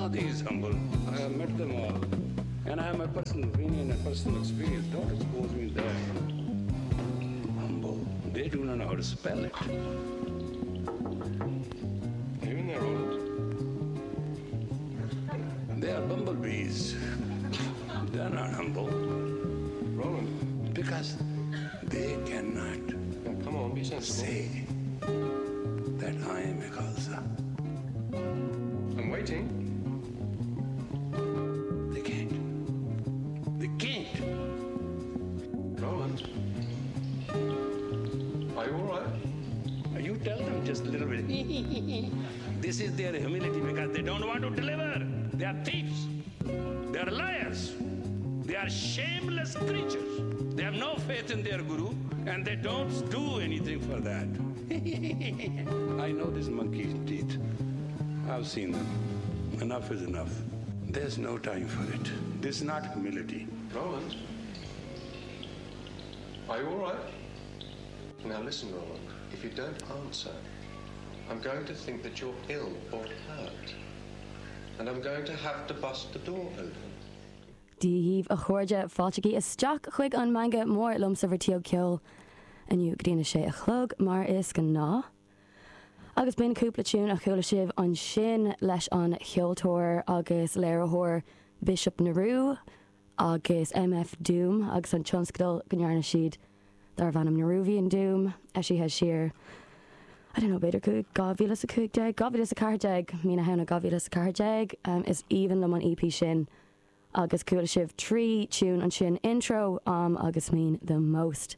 know these humble. I have met them all. And I have my personal opinion and personal experience. Don't expose me there. Humble. They do not know how to spell it. Are you in there, Roland? They are bumblebees. They're not humble. Roland? Because they cannot Now, come on, be sensible. say that I am a Khalsa. I'm waiting. They can't. They can't. Roland? Are you all right? You tell them just a little bit. this is their humility because they don't want to deliver. They are thieves. They are liars. They are shameless creatures. They have no faith in their guru and they don't do anything for that. I know these monkey teeth. I've seen them. Enough is enough. There's no time for it. This is not humility. Roland? Are you all right? Now listen, Roland. If you don't answer, I'm going to think that you're ill or hurt. And I'm going to have to bust the door open. Dia dhaoibh a chairde, fáiltigí isteach chuig an Meangadh Mór liomsa Bhreatiach Ceoil inniu go dtí a sé a chlog mar is gnáth. Agus b'in cúpla tiún a chuala sibh ansin leis an cheoltóir agus léiritheoir Bishop Nehru agus MF Doom agus an tionscadal go ndearna siad darbh ainm Nehruvian Doom, eisithe siar, I don't know, b'fhéidir 2015, 2014, mí na Samhna 2014. Is aoibhinn liom an EP sin agus chuala sibh 3 tiún ansin, Intro, Am agus Mean the Most.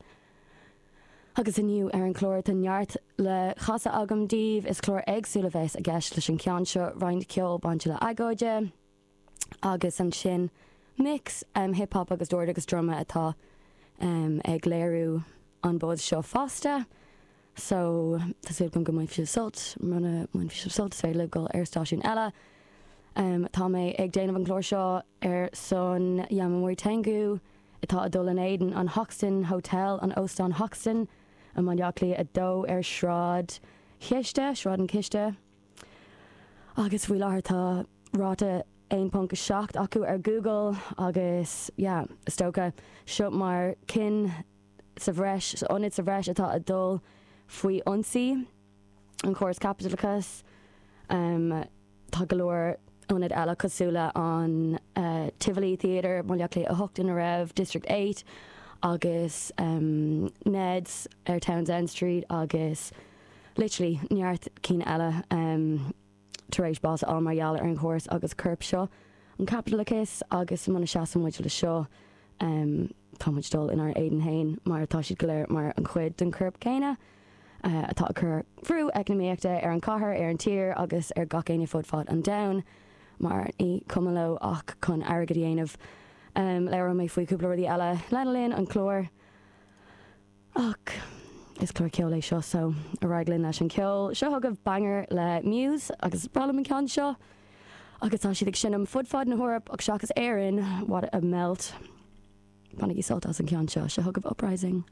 Agus inniu ar an chlár tá neart le chasadh agam daoibh, is clár éagsúil a bheas i gceist leis an cheann seo, roinnt ceoil bainte le agóide, agus ansin mix hip hop agus dord agus druma atá ag léiriú an buzz seo fosta. So tá súil agam go mbainfidh sibh sult, muna mbainfidh sibh sult is féidir libh dul ar stáisiún eile. Tá mé ag déanamh an chlár seo ar son Yamamori Tengu atá ag dul in éadan an Hoxton Hotel, an Óstán Hoxton i mBaile Átha Cliath 2 ar Sráid Chiste, Sráid an Chiste. Agus faoi láthair tá ráta 1.7 acu ar Google agus yeah, is dócha seo mar cinn sa bhreis, ionad sa bhreis atá ag dul faoi ionsaí an chóras caipitleachais. Tá go leor ionad eile cosúil le an Tivoli Theatre, Baile Átha Cliath 8 ina raibh District 8 agus Ned's ar Townsend Street agus literally neart cinn eile tar éis bás a fháil mar gheall ar an chóras agus corp seo an chaipitleachais agus muna seasann muid le seo tá muid dul inár éadan fhéin mar tá siad go léir mar an chuid den chorp céanna atá ag cur bhrú eacnamaíochta ar an chathair, ar an tír agus ar gach éinne fud fad an domhain mar ní cuma leo ach chun airgead a dhéanamh. Labhróidh mé faoi cúpla rudaí eile lena linn an chláir. Ach is clár ceoil é seo so ar aghaidh linn leis an cheol. Seo chugaibh banger le Muse agus is breá liom an ceann seo agus tá siad ag seinm fud fad na hEorpa ach seachas Éirinn, what a melt. Bainigí sult as an ceann seo. Seo chugaibh Uprising.